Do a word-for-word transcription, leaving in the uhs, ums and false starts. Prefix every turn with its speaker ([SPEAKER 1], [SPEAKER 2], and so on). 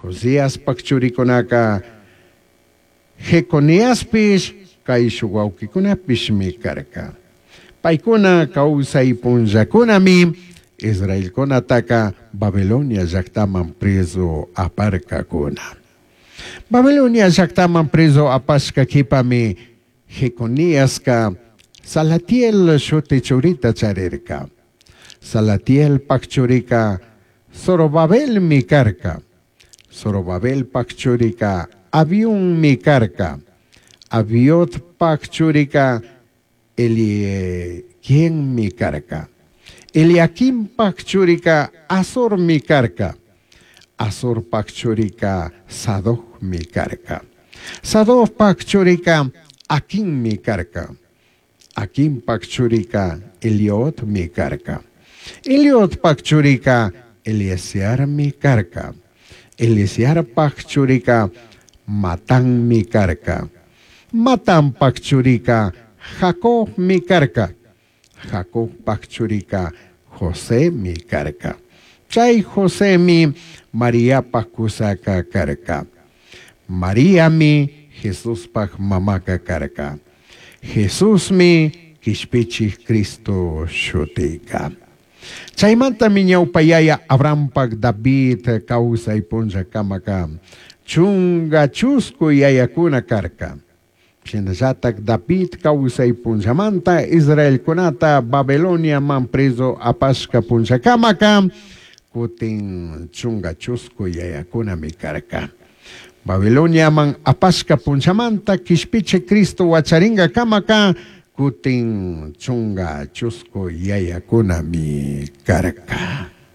[SPEAKER 1] Josiaspaj churicunaca Jeconiaspish caishuj huauquicunapishmi carca. Paicuna causai punllacunami Israelcunataca Babilonia llajtaman prezu aparcacuna. Babilonia llajtaman prezu apashca q'uipami Jeconiasca Salatiel shuti churita charirca. Salatielpaj churica Zorobabelmi carca. Zorobabelpaj churica Abiunmi carca. Abiudpaj churica Eliaquimmi carca. Eliaquimpaj churica Azormi carca. Azorpaj churica Sadocmi carca. Sadocpaj churica Aquimmi carca. Aquimpaj churica Eliotmi carca. Eliotpaj churica Eleazarmi carca. Eleazarpaj churica Matanmi carca. Matanpaj churica Jacobmi carca. Jacobpaj churica Josemi carca. Chai Josemi Mariapaj cusaca carca. Mariami Jesuspaj mamaca carca. Jesusmi Quishpichij Cristo shutica. Chaimantami ñaupa yaya Abrahampaj David causai punllacamaca chunga chuscu yayacuna carca. Shinallataj David causai punllamanta Israelcunata Babiloniaman prezu apashca punllacamaca cutin chunga chuscu yayacunami carca. Babiloniaman apashca punllamanta Quishpichij Cristo huacharingacamaca cutin chunga chuscu yayacunami carca.